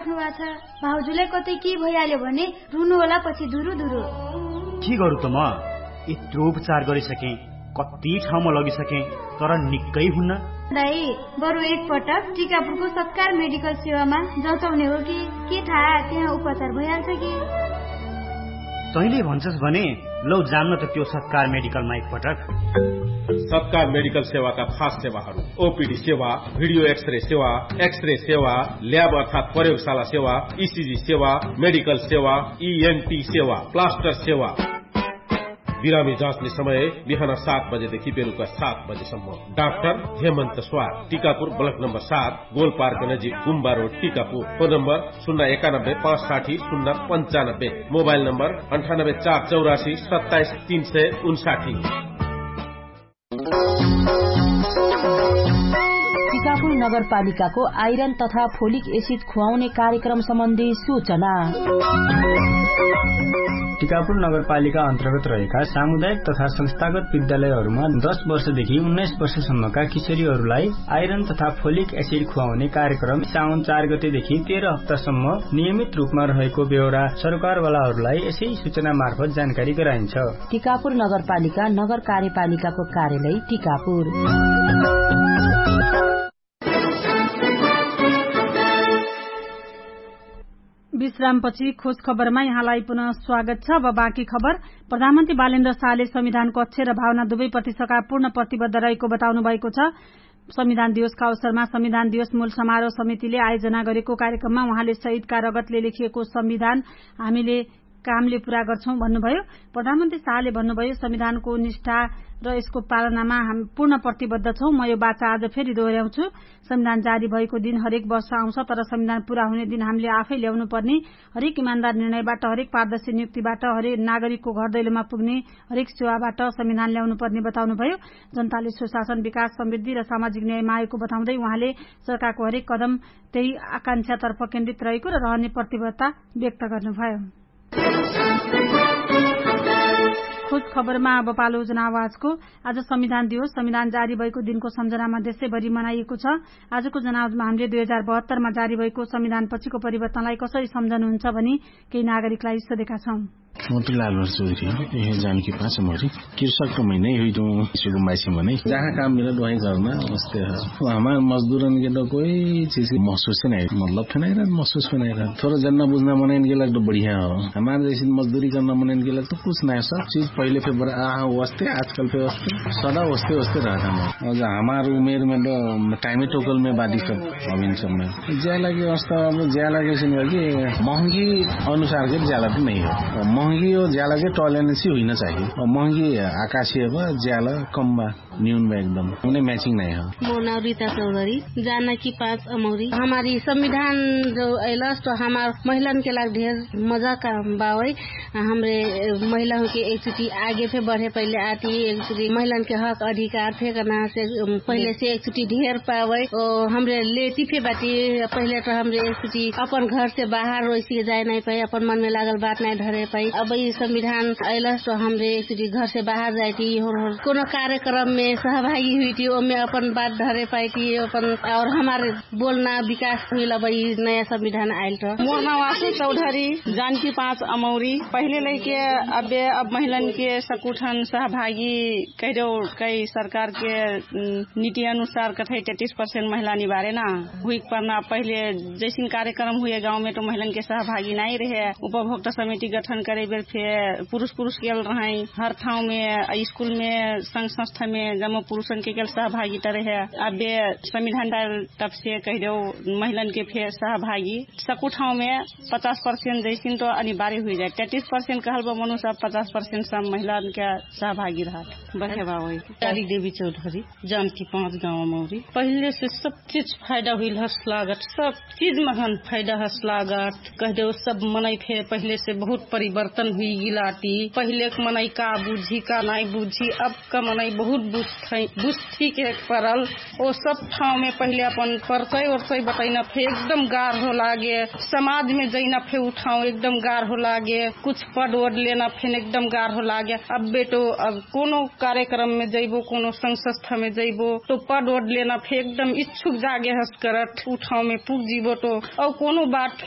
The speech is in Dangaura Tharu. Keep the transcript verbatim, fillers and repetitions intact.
भाउजुलाई कतै कि भइहाल्यो भने रुनु होला पछि धुरु धुरु। कि गरु त म यत्रो उपचार गरिसकेँ, कति ठाउँमा लगिसकेँ, तर निक्कै हुन्न। दाइ, बरु एक पटक टिकापुरको सत्कार मेडिकल सेवामा जचाउने हो कि? के थाहा त्यहाँ उपचार भइहाल्छ कि? तैँले भन्छस् भने लौ जान्न त त्यो सत्कार मेडिकलमा एक पटक। सत्कार मेडिकल सेवाका खास सेवाहरू: ओपिडी सेवा, भिडियो एक्सरे सेवा, एक्सरे सेवा, ल्याब अर्थात् प्रयोगशाला सेवा, इसिजी सेवा, मेडिकल सेवा, इएनटी सेवा, प्लास्टर सेवा। बिरामी जाँच्ने समय बिहान सात बजेदेखि बेलुका सात बजेसम्म। डाक्टर हेमन्त स्वार, टिकापुर ब्लक नम्बर सात, गोलपार्क नजिक गुम्बा रोड, टिकापुर। फोन नम्बर शून्य एकानब्बे पाँच साठी शून्य पन्चानब्बे। मोबाइल नम्बर अन्ठानब्बे चार चौरासी सत्ताइस तीन सय उन्साठी। टिकापुर नगरपालिकाको आइरन तथा फोलिक एसिड खुवाउने कार्यक्रम सम्बन्धी सूचना। टिकापुर नगरपालिका अन्तर्गत रहेका सामुदायिक तथा संस्थागत विद्यालयहरूमा दस वर्षदेखि उन्नाइस वर्षसम्मका किशोरीहरूलाई आइरन तथा फोलिक एसिड खुवाउने कार्यक्रम साउन चार गतेदेखि तेह्र हप्तासम्म नियमित रूपमा रहेको बेहोरा सरकारवालाहरूलाई यसै सूचना मार्फत जानकारी गराइन्छ। टिकापुर नगरपालिका नगर कार्यपालिकाको कार्यालय टिकापुर। विश्रामपछि खोज खबरमा यहाँलाई पुनः स्वागत छ। अब बाँकी खबर। प्रधानमन्त्री बालेन्द्र शाहले संविधानको अक्षर र भावना दुवै प्रति सकापूर्ण प्रतिबद्ध रहेको बताउनु भएको छ। संविधान दिवसका अवसरमा संविधान दिवस मूल समारोह समितिले आयोजना गरेको कार्यक्रममा उहाँले शहीदका रगतले लेखिएको संविधान हामीले कामले पूरा गर्छौँ भन्नुभयो। प्रधानमन्त्री शाहले भन्नुभयो, संविधानको निष्ठा र यसको पालनामा हामी पूर्ण प्रतिबद्ध छौँ। म यो बाचा आज फेरि दोहोर्याउँछु। संविधान जारी भएको दिन हरेक वर्ष आउँछ, तर संविधान पूरा हुने दिन हामीले आफै ल्याउनु पर्ने, हरेक इमान्दार निर्णयबाट, हरेक पारदर्शी नियुक्तिबाट, हरेक नागरिकको घर दैलोमा पुग्ने हरेक सेवाबाट संविधान ल्याउनु पर्ने बताउनुभयो। जनताले सुशासन, विकास, समृद्धि र सामाजिक न्याय मागेको बताउँदै उहाँले सरकारको हरेक कदम त्यही आकांक्षातर्फ केन्द्रित रहेको र रहने प्रतिबद्धता व्यक्त गर्नुभयो। खोज खबरमा अब पालो जनावाजको। आज संविधान दिवस, संविधान जारी भएको दिनको सम्झनामा देशैभरि मनाइएको छ। आजको जनावाजमा हामीले दुई हजार बहत्तरमा जारी भएको संविधानपछिको परिवर्तनलाई कसरी सम्झनुहुन्छ भनी केही नागरिकलाई सोधेका छौँ। मोतीलाल चौधरी हो, यह जानकी पाँच मोरी। कृषक तो मैं नहीं हुई दूँ, सुगुम्बासी मनै। जहाँ काम मिला वही करना, वस्ते है। हमार मजदूरन के तो कोई चीज महसूस ही नहीं, मतलब थे नहीं रहत, महसूस भी नहीं रहत। थोड़ा जन्ना बुझना मनैन के लग तो बढ़िया हो। हमार जैसे मजदूरी करना मनैन के लग तो कुछ नहीं, सब चीज पहिले पे बड़ा आ वस्ते, आजकल पे वस्ते, सदा वस्ते वस्ते रहत हमार। और हमार उमेर में तो टाइमे टोकल में बादी सब अभिन सब में। ज्या लागे अवस्था अब ज्या लागे सुन कि महँगी अनुसार के ज्याला त नहीं हो। महँगी और ज्याला के टॉलरेंस ही हुई ना चाहिए। और महँगी आकाशीय बा, ज्याला कम बा, न्यून बा एकदम। उन्हें मैचिंग नहीं हो। मोर नाम रीता चौधरी, जानकी पाँच अमौरी। हमारी संविधान जो अइलस तो हमार महिलन के लाग ढेर मजा का बावै। हमरे महिला के एक चुटी आगे फे बढ़े पहिले आती, एक चुटी महिलन के हक अधिकार फे करना से पहिले से एक चुटी ढेर पावै। ओ हमरे लेती फे बाटी, पहिले त हमरे एक चुटी अपन घर से बाहर ओइसी के जाए नाइ पाई, अपन मन में लागल बात नाइ धरे पाई। अब ई संविधान अइलस त हमरे एक चुटी घर से बाहर जाइती, होर होर कोनो कार्यक्रम में सहभागी हुइती, ओमे अपन बात धरे पाइती अपन। और हमार बोलना विकास हुइल अब ई नया संविधान आइल त। मोर नाम आशु चौधरी, जानकी पाँच अमौरी। पहिले लैके अबे अब महिलन के सकुठन सहभागी कहिदेउ, कै सरकार के नीति अनुसार कथै तेतीस पर्सेन्ट महिला निबारे ना हुइक पर्ना। पहिले जैसिन कार्यक्रम हुए गाउँमे त महिलन के सहभागी नाइ रहे। उपभोक्ता समिति गठन करे बेर फे पुरुष पुरुष केल रहै। हर ठाउँमे स्कुलमे संघ संस्थामे जम्मा पुरुषन के केल सहभागी त रहे। अबे संविधान डाल तब से कहिदेउ महिलन के फे सहभागी सकु ठाउँमे पचास पर्सेन्ट जैसिन त अनिवार्य हुइजाए। तेतीस पर्सेन्ट कहल बा मनुष्य अब पचास पर्सेन्ट सब महिलन के सहभागी रहत। बहेवा होइ। काली देवी चौधरी, जानकी पाँच गाउँमा मौरी। पहिले से सब चिज फाइदा हुइल हस लागत, सब चिज महन फाइदा हस लागत। कहिदेउ सब मनै फे पहिले से बहुत परिवर्तन हुइगिलाती। पहिलेक मनै का बुझी का नाइ बुझी, अब का मनै बहुत बुझथै, बुझथी के परल। ओ सब ठाउँमे पहिले अपन परचै ओरचै बतैना फे एकदम गार हो लागे। समाजमे जैना फे उठाउ एकदम गार हो लागे। कुछ पद ओद लेना फेन एकदम गार हो लागे। अब्बे तो अब कोनो कार्यक्रम में जैबो, कोनो संस्था में जैबो तो पद ओद लेना फे एकदम इच्छुक जागे हस करत। उठाउ में पुग जिबो तो अब कोनो बात